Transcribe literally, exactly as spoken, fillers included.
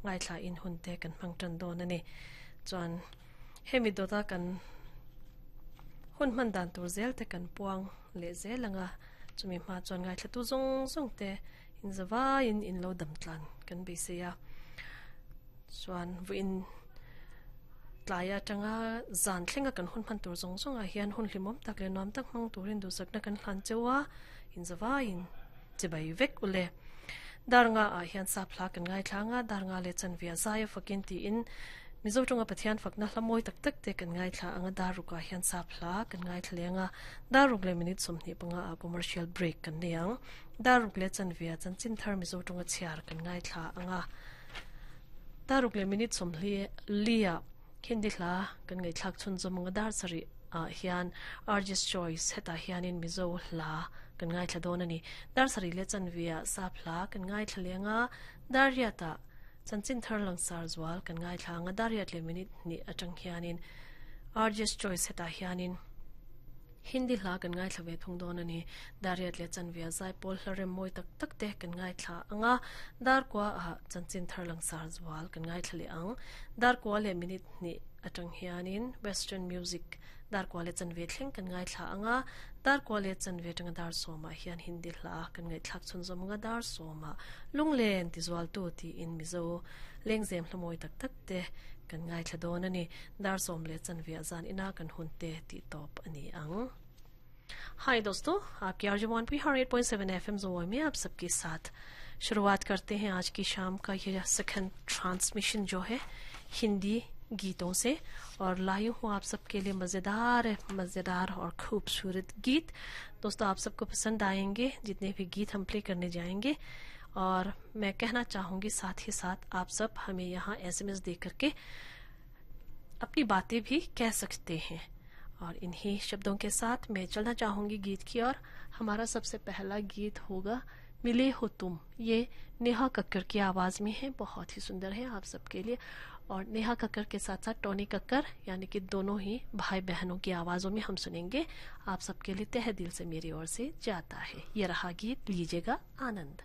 ngai thla in hun te kan hmang tan dawn ani chuan hemi dota kan hun hman dan tur zel te kan puang le zel anga chumi hma chuan ngai thla tu zawng zawng te in zawa in in lo dam tlan kan be se ya chuan vuin tlaya tanga zan thlenga kan hun hman tur zawng zawng a hian hun hlimawm tak le nuam tak hmang turin duhsakna kan hlan chewa in zawa in chibai vek ule darnga a hian sa phla kan ngai thlanga darnga le chanvia zaya fakin ti in mizo tonga pathian fakna hlamoi tak tak te kan ngai thla anga daruka hian sa phla kan ngai thlenga daruk le minute somni panga a commercial break kan niang daruk le chanvia chan chin thar mizo tonga chiar kan ngai thla anga daruk le minute somli lia hindi hla kan ngai thlak chun zomanga dar sari a hian artist choice heta hianin mizo hla kan ngai thla don ani dar sari le chanvia sa phla kan ngai thlenga dariata chanchin thar langsar zwal kan ngai thlanga dariat le minute ni atang hianin artist choice heta hianin hindi hla kan ngai thlave thung don ani dariat le chanvia zai pol hlarem moi tak tak te kan ngai thla anga dar kwa a chanchin thar langsar zwal kan ngai thlale ang dar kwa le minute ni atang hianin western music dar kwa le chanve thleng kan ngai thla anga dar kwa le chanve tanga dar soma hian hindi hla kan ngai thlak chun zomanga dar soma lunglen ti zwal tu ti in mizo lengzem hlamoi tak tak te kan ngai thla don ani dar som le chanve zan ina kan hun te ti top ani ang. हाय दोस्तों, आपकी RJ one P eight point seven F M जोए में आप सबके साथ शुरुआत करते हैं आज की शाम का ये सेकंड ट्रांसमिशन जो है हिंदी गीतों से, और लाई हूँ आप सबके लिए मज़ेदार मज़ेदार और खूबसूरत गीत। दोस्तों आप सबको पसंद आएंगे जितने भी गीत हम प्ले करने जाएंगे, और मैं कहना चाहूँगी साथ ही साथ आप सब हमें यहाँ S M S दे करके अपनी बातें भी कह सकते हैं। और इन्हीं शब्दों के साथ मैं चलना चाहूँगी गीत की ओर। हमारा सबसे पहला गीत होगा मिले हो तुम, ये नेहा कक्कर की आवाज़ में है, बहुत ही सुंदर है आप सबके लिए। और नेहा कक्कर के साथ साथ टोनी कक्कर यानी कि दोनों ही भाई बहनों की आवाज़ों में हम सुनेंगे। आप सबके लिए तहे दिल से मेरी ओर से जाता है ये रहा गीत, लीजिएगा आनंद।